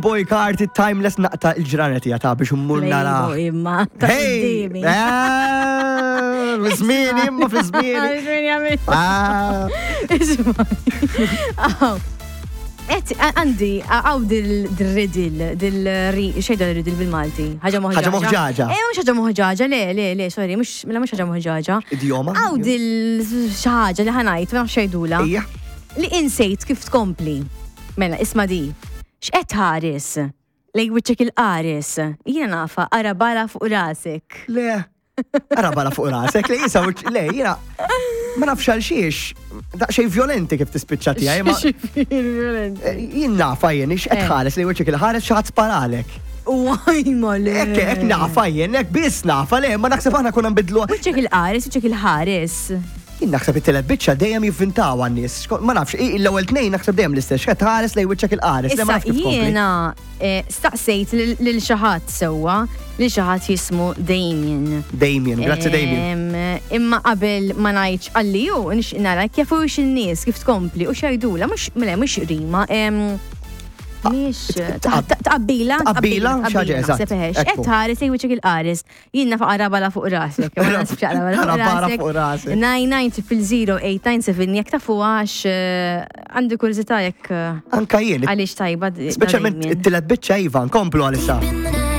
Boy Carti Timeless naqta il-ġranet hija ta' biex immur nara. Playboy imma ta' Hey! qudiemi. Eh, Fi żmieni imma fi żmieni. Żmieni għamil. Ah, Isma'. Aw. Et, għandi, għaw dil-riddle, dil-ri, xejda dil-riddle bil-Malti? Ħaġa moħġaġa. Ħaġa moħġaġa. Eh, mux ħaġa moħġaġa, le, le, le, sorry, mux, mela mux ħaġa moħġaġa. Idjoma? Għaw dil-xaħġa li ħanajt, ma nafx xejdula. Ija. Li insejt kif tkompli. Mela, isma di. X'qed tħares? Lej wiċċek il-qares. Jiena nafa, ara bala fuq rasek. Le. Ara bala fuq rasek, le jisa, le, jina. Ma nafx għal xiex, daqxej violenti kif tispiċċa tiegħi, ma eh, jien nafa jien, ix qed Eh. ħares li wiċċek il-ħares xi ħadd sparalek. Uaj, ma le. Hekk hekk nafa jien, hekk biss nafa le, ma naħseb aħna konna nbidlu. Wiċċek il-qares, wiċċek il-ħares. Jien naħseb it-telet biċċa dejjem jivvintaw għan-nies. Ma nafx, l-ewwel tnejn naħseb dejjem l-istess, x'qed tħares lejn wiċċek il-qares, le ma Issa nafx kif tkompli. jiena eh, staqsejt lil xi ħadd sewwa, lil xi ħadd jismu Damien. Damien, grazzi Damien. Em, Imma qabel ma ngħidx għalli hu nixtieq nara kif hux in-nies kif tkompli u x'jgħidula mhux mela mhux rima. em, Mhix tqabbila, Tqabbila, xi ħaġa, eżatt. naħseb eħex. Ekku. Qed tħares lejn wiċċek il-qares. Jien naf qarabala fuq rasek. Ma naħsibx qarabala fuq Qarabala rasek. fuq rasek. 99 00897 jekk tafu għax eh, għandi kurżità jekk eh, Anka jien, għaliex tajba. speċjalment it-telet biċċa Iva, nkomplu għalissa.